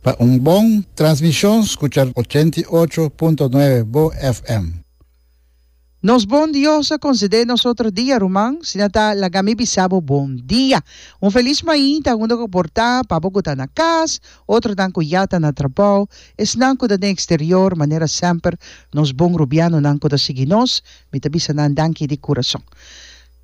Pa un bon transmishon skucha 88.9 Bo FM. Nos bon Dios a concede nos otro dia ruman, sina ta laga mi bisa bo bon dia. Un feliz mainta unda cu por ta pa bo cu ta na cas, otronan cu ya ta na trabao, esnan cu ta den exterior, manera semper nos bon Rubianonan cu ta sigui nos, mi ta bisa nan danki di curason.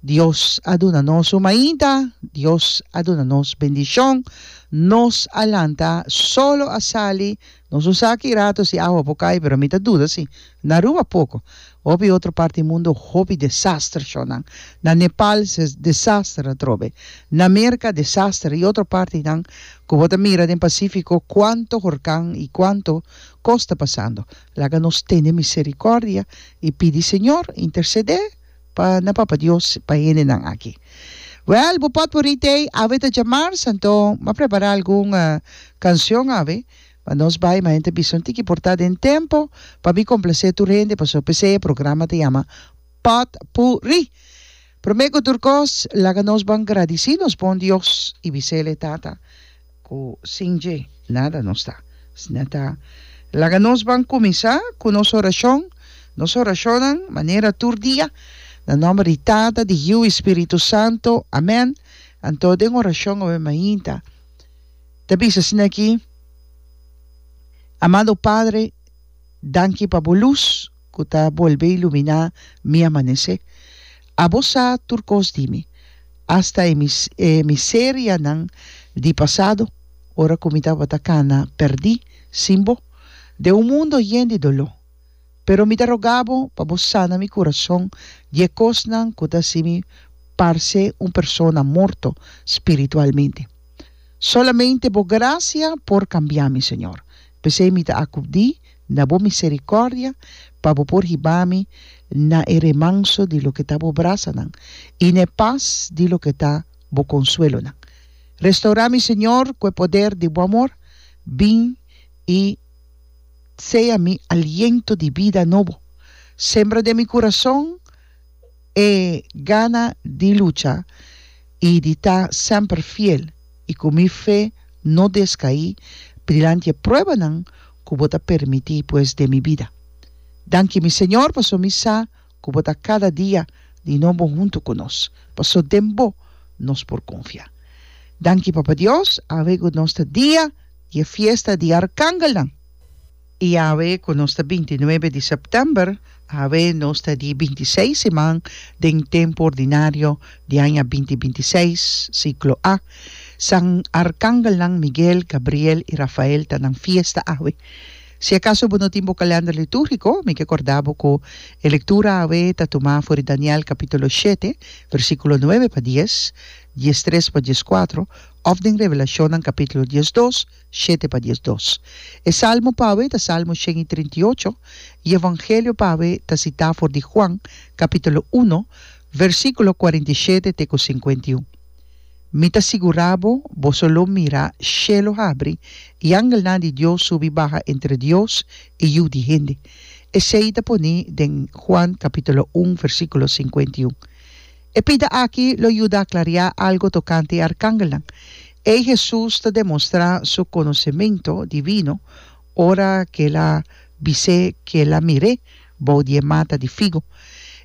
Dios a duna nos un mainta, Dios a duna nos bendicion, nos a lanta, solo a sali, nos no sa ki rato si awa por cay, pero mi ta duda si, na Aruba poco, hopi otro parti mundo hopi desaster shownan, na Nepal desaster atrobe, na Merca desaster y otro partinan cu bo ta mira den Pacifico cuanto horcan y cuanto cos ta pasando, laga nos tene misericordia y pidi Señor intercede. Pa na Papa Dios pa hendenan aki. Wel, bo potpourri t'ey, awe ta djamars, anto m'a prepara algun cancion awe pa nos bay, ma hende ta bisa un tiki por ta den tempo pa mi complace tur hende, pasobra p'esey e programa ta yama Potpourri. Prome cu tur cos, laga nos ban gradici nos bon Dios y bis'El e Tata Ku sin dje nada nos ta. Asina ta. Laga nos ban kuminsá ku nos orashon, nos orashonnan manera tur dia, na nòmber di Tata, di Yu i Spiritu Santu. Amèn. Anto den orashon awe mainta ta bisa asina aki, Amado Padre, danki pa bo lus ku ta bolbe iluminá mi amanesé. Abo sa tur kos di mi. Asta e e miserianan di pasado, ora ku mi tabata kana pèrdí sin bo, den un mundo yen di doló. Pero mi ta roga bo pa bo sana mi kurason di e kosnan ku ta hasi mi parse un persona morto spiritualmente. Solamente bo grasia por kambia mi, Señor. P'esei mi ta akudí na bo miserikòrdia pa bo por hiba mi na e remanso di loke ta bo brasanan i na e pas di loke ta bo konsuelonan. Restourá mi, Señor, ku e poder di bo amor, bin i sea mi aliento di bida nobo. Sembra den mi kurason e gana di lucha i di ta semper fiel i ku mi fe no deskaí dilanti e pruebanan ku bo ta permití pues den mi bida. Danki mi Señor paso mi sa ku bo ta kada dia di nobo huntu ku nos, paso den bo nos por konfia. Danki Papa Dios, awe ku nos ta dia di e fiesta di Arkangelnan. I awe ku nos ta bintinuebe di sèptèmber, awe nos ta di bintiseis siman den tempu ordinario di aña binti bintiseis, siklo A. San Arkangelnan Miguel, Gabriel i Rafael ta nan fiesta awe. Si akaso bo no tin bo kalènder litúrgiko, mi ke kòrda bo ku e lektura awe ta tumá for di Daniel kapítulo shete, versíkulo nuebe pa dies, diestres pa dieskuatro, òf den Revelashonnan kapítulo diesdos, shete pa diesdos. E salmo pa awe ta Salmo 138 i evangelio pa awe ta sitá for di Juan kapítulo uno, versíkulo 47 te ku 51. Mi ta sigurá bo, boso lo mira shelu habri i angelnan di Dios subi baha entre Dios i Yu di hende. Esei ta poní den Juan kapítulo un versíkulo 51. E pida aki lo yuda aklariá algu tokante e arkangelnan. Ei Hesus ta demostrá su konosementu divino ora ku el a bis'é ku el a mir'é bou di e mata di figo.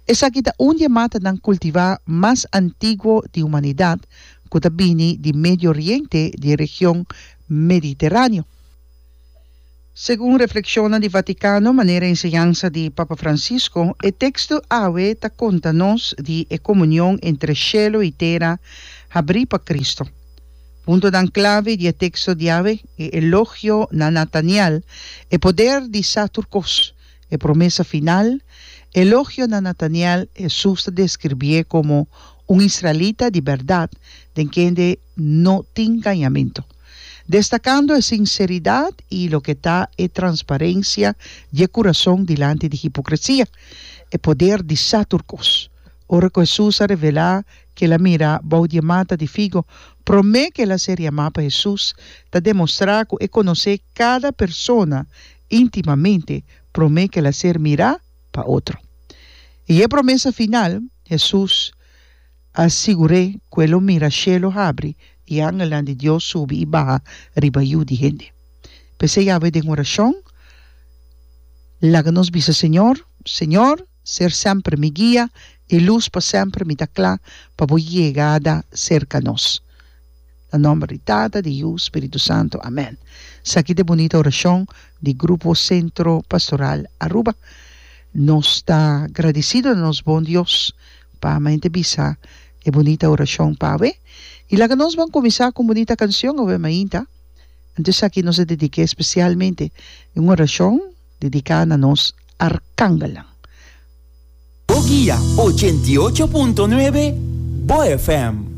Esaki ta un di e matanan kultivá mas antiguo di humanidat ku ta bini di Medio Oriente di e region Mediteraneo. Segun reflekshonnan di Vatikano manera enseñansa di Papa Francisco, e teksto awe ta konta nos di e komunion entre shelu i tera habrí pa Cristo. Puntonan klave di e teksto di awe, e elogio na Nataniel, e poder di sa tur kos, e promesa final, elogio na Nataniel, Hesus ta deskribié komo un israelita di bèrdat den kende no tin gañamentu. Destakando e sinseridat i loke ta e transparensia di e kurason dilanti di hipokresia, e poder di sa tur kos. Ora ku Hesus a revelá ku el a mira bou di e mata di figo promé ku el a ser yamá pa Hesus, ta demostrá ku e konosé kada persona íntimamente promé ku el a ser mirá pa otro. I e promesa final, Hesus a sigur'é ku e lo mira shelu habri i angelnan di Dios subi i baha riba Yu di hende. P'esei awe den orashon, laga nos bisa Señor, Señor, ser semper mi guia i lus pa semper mi ta kla pa bo yegada serka nos. Na nòmber di Tata, di Yu, Spiritu Santu. Amèn. Esaki ta e bunita orashon di Grupo Centro Pastoral Aruba. Nos ta gradisido na nos bon Dios pa mente bisa e bunita orashon pa awe. I laga nos ban kuminsá ku un bunita kanshon awe mainta. Anto esaki nos a dedik'é spesialmente un orashon dediká na nos arkangelnan. Bo guia 88.9 Bo FM.